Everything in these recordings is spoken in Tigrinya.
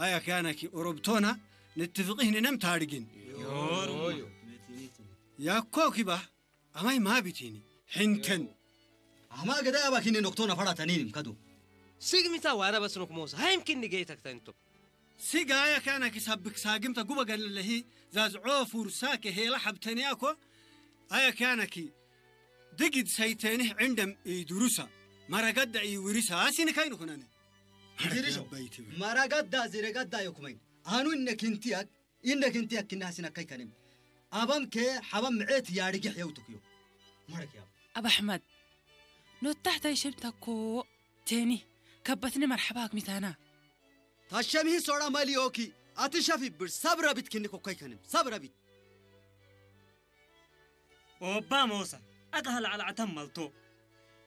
ኣያ ክያናኪ ኦሮብቶና ንትፍቕህ ንነም ታድግን። ያኮኪባ ኣማይ ማቢቲኒ ሕንተን። ኣማ ገዳ ኣባኪኒ ኖክቶና ፈራተኒንም ከዱ። ስግሚታ ዋና በስኖክ ሞሳ ሃይምኪኒ ገይተክተንቶ። ሲጋ ኣያ ክያናኪ ሳብክ ሳግምታ ጉበ ገለለሂ ዛዝዖ ፉርሳ ከሄላ ሓብተንያኮ። ኣያ ክያናኪ ድግድ ሰይተንህ ዕንደም ኢዱሩሳ መረገዳ ኢውሪሳ ኣሲኒ ከይኑ ኩነነ። ድርሾ መረገዳ ዝረገዳ ዮኩመይን ኣኑ እነ ክንትያክ እነ ክንትያክ ክናስና ከይከንም። ኣባም ከ ሓባም ምዕት ያርጊሕ የውትኩዮ። መረክ ያብ። ኣብ ኣሕመድ ኖታሕታይ ሸምታኮ ቴኒ ከበትኒ መርሓባ ኣግሚታና። ታሸምሂ ሶራ ማሊዮኪ ኣትሸፊ ብር ሰብረቢት ክንኮ ከይከንም። ሰብረቢት። ኦባ ሞሳ ኣጋህል ዓላዕተም መልቶ።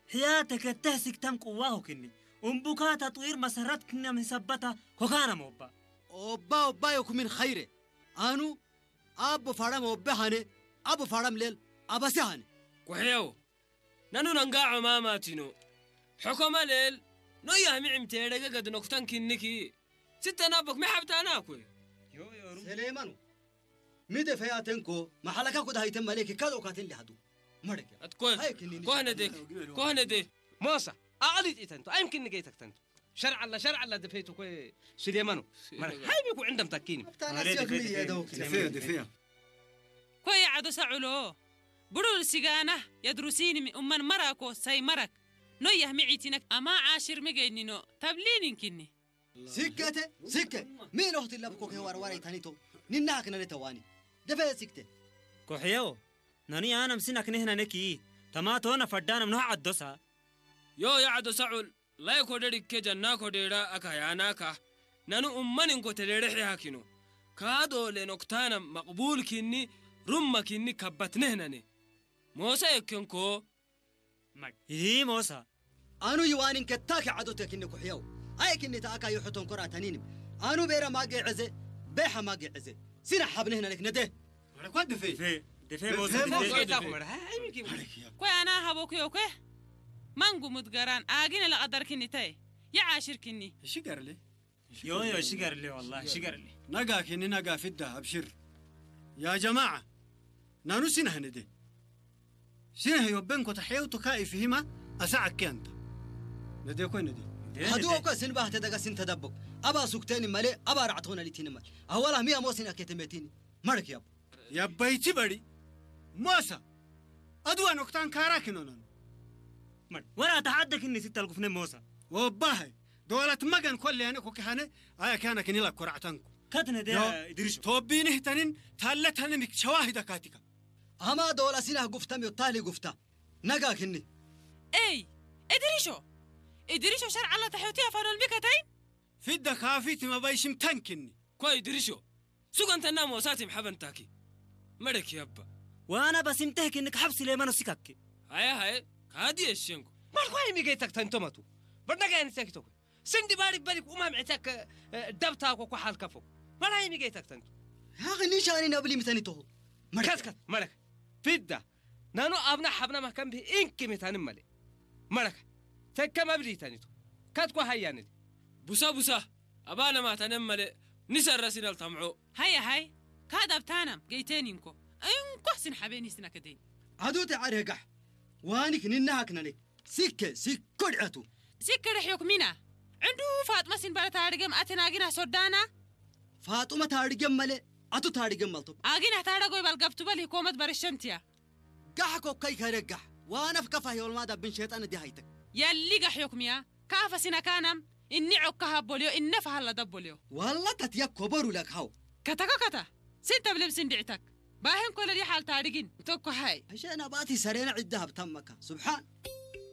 ሕያ ተከተህ ሲክተም ቅዋ ሆክኒ። እምቡካ ተጥዊር መሰረት ክነም ሂሰበታ ኮካና ሞባ። ኦባ ኦባ ዮኩሚን ኸይረ። ኣኑ ኣቦ ፋራም ኦበ ሃነ። ኣቦ ፋራም ሌል ኣባሲ ሃነ። ኩሕየው ነኑ ነንጋ ዖማማቲኖ። ሕኮመ ሌል ኖያ ሚዕም ተየደገ ገድኖ ኩተን ኪንኪ። ስተናቦክ መሓብታና ኮይ። ሰሌማኑ። ሚደ ፈያተንኮ መሓለካ ኩዳ ሃይተን መሌክ ካልኦካትን ሊሃዱ። መረክ። ኣትኮን። ሃይ ክኒኒ። ኮህነዴ። ኮህነዴ። ሞሳ ኣቕሊጥ ኢተንቶ ኣይምክን ንገይተክተንቶ። ሸርዓላ ሸርዓላ ደፈይቱ ኮ ሱሌማኑ። መረክ ሃይ ቢኩ ዕንደም ታኪኒ። ኣፍታና ሲያክ ሚዲ የደውክ። ደፈያ ደፈያ። ኮይ ዓዶ ሰዑሎ ብሩር ሲጋና የድሩሲኒ ኡመን መራኮ ሳይ መረክ። ኖያህ ሚዒቲነክ ኣማ ዓሽር ሚገይኒኖ ተብሊኒንኪኒ። ሲከተ ሲከ ሚን ኦህቲ ለብኮ ከዋርዋር ይታኒቶ። ኒና ክነለ ተዋኒ ደፈ ሲክተ። ኮሕየው ነኑ ያነም ሲና ክነህና ነኪ ተማቶነ ፈዳነም ኖህ ዓዶሳ። ዮ ያዓዶ ሰዑል ላይ ኮደድ ከጀና ኮደዳ ኣካ ያናካ ነኑ ኡመን እንኮ ተደረሕ ያኪኖ። ካዶ ለኖክታነም መቅቡል ኪኒ ሩመ ኪኒ ከበት ነህነኔ ሞሳ የከንኮ። ማግ ይህ ሞሳ። ኣኑ ይዋኒን ከታኪ ዓዶተ ክኒ ኩሕየው። ኣይ ክኒ ተኣካ ይሑቶን ኮራ ተኒንም። ኣኑ ቤረ ማገ ዕዘ ቤሐ ማገ ዕዘ። ሲና ሓብነህ ነለክ ነደ። ወረኳ ድፌ። ድፌ ድፌ ሞሳ ድፌ። ኮይ ኣና ሃቦኩ ዮኮ። ማንጉ ሙትገራን ኣጊነ ለቐደርክኒ ተይ። ይዓሽርክኒ። እሺ ገርለ። ዮዮ ሽገርሌ ወላሂ ሽገርሌ። ነጋ ኪኒ ነጋ ፊዳ ኣብሽር። ያ ጀማዓ ናኑ ሲናህ ንዴ። ሲናህ ዮበን ኮታ ሔውቱ ካኢ ፍሂማ ኣሳዓኪ ኣንታ። ነዴ ኮይ ነዴ። ሃዱ ኦኮ ስንባህ ተደጋ ስን ተደቦ። ኣባ ሱክቴኒ መሌ ኣባ ራዕቶነ ሊቲኒ መል ኣወላ ሚያ ሞሲና ኬተሜቲኒ። መርክ ያብ። ያባይቲ በሪ ሞሳ ኣድዋ ኖክታን ካራ ኪኖነኑ። መድ ወላ ተሓደክኒ ሲተልኩፍነ ሞሳ። ወባሃይ ዶላት መገን ኮለ ያነ ኮኪ ሃነ ኣያ ኪያና ክኒላ ኮራዕታንኩ። ከትነ ደ ዮ፣ ድርሽ ቶቢኒ ህተንን ታለ ታለ ሚክ ሸዋሂዳ ካቲካ። ኣማ ዶላ ሲላህ ጉፍታም ዮ ታሊ ጉፍታ ነጋ ክኒ። ኤይ እድሪሾ እድሪሾ ሸርዓላ ተሕቲ ኣፋኖል ሚከተይ። ፊዳ ካፊት መባይሽም ታንክኒ። ኮይ ድርሾ ሱገንተና ሞሳቲም ሓበንታኪ። መደኪ ኣባ። ዋና በሲምተህ ክኒ ክሓብ ስሌማኖ ሲካኪ። ሃየ ሃየ ካዲ የሸንኩ። ማልኳ ይሚገይተክ ተንቶመቱ በርነጋ ያንሰኪቶኩ። ስንዲ ባሪክ በሪክ ኡማም ዕተክ ደብታ ኮኮ ሓልከፎ። ማላ ይሚገይተክ ተንቶ። ያኺ ኒሻኒ ነብሊ ምተኒቶኹ። መለክ ከትከት መለክ ፊዳ ናኑ ኣብና ሓብና ማከም ብህ ኢንኪ ምታንም መለ። መለክ ተከም ኣብሊ ተኒቶ። ከትኮ ሃያንል ቡሳ ቡሳ ኣባነ ማተነም መለ። ንሰረሲነል ተምዖ። ሃየ ሃይ ካድ ኣብታናም ገይቴን ኢንኮ። እንኮ ስን ሓቤን ይስና ከደይን። ኣዱተ ኣረጋሕ ዋኒክ ንናሃክ ነኔ። ሲከ ሲኮ ድዐቱ። ሲከ ድሕዮክ ሚና። ዕንዱ ፋጥመ ሲን በረታ ኣድገም ኣተናጊና ሶዳና። ፋጡመ ታርገም መለ ኣቱ ታርገም መልቶ። ኣጊና ታረጎ ይባል ገብቱ በል ይኮመት በረሸምትያ። ጋሕ ኮከይ ከረጋሕ ዋነፍ ከፋ ዮልማዳ ብን ሸጣን ዲሃይተክ። የሊ ጋሕዮክ ሚያ። ካፈ ሲና ካናም እኒ ዖካ ሃቦልዮ እነ ፈሃላ ደቦልዮ። ዋላ ተትያ ኮበሩ ለክ ሃው። ከተከከተ ሲን ተብልም ሲን ድዕተክ። ባህን ኮለል ይሓል ታሪጊን ተኮ ሃይ። ኣሸና ባቲ ሰሬና ዕዳ ሃብታም መካ ስብሓን።